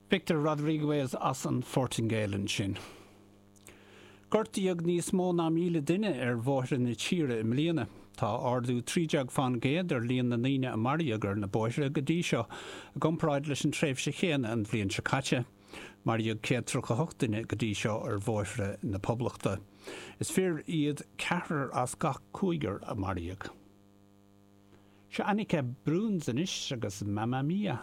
Victor Rodrigues as an Phortaingéil ansin. Gortaíodh níos mó ná 1,000 duine ar bhóithre na tíre i mbliana. Tá ardú 13 fán gcéad ar líon na ndaoine a maraíodh ar na bóithre go dtí seo, i gcomparáid leis an tréimhse chéanna an bhliain seo caite. Maraíodh 138 duine go dtí seo ar bhóithre na Poblachta. Is fir iad ceathrar as gach cúigear a maraíodh. Seo Annika Bruns anois agus Mamma Mia.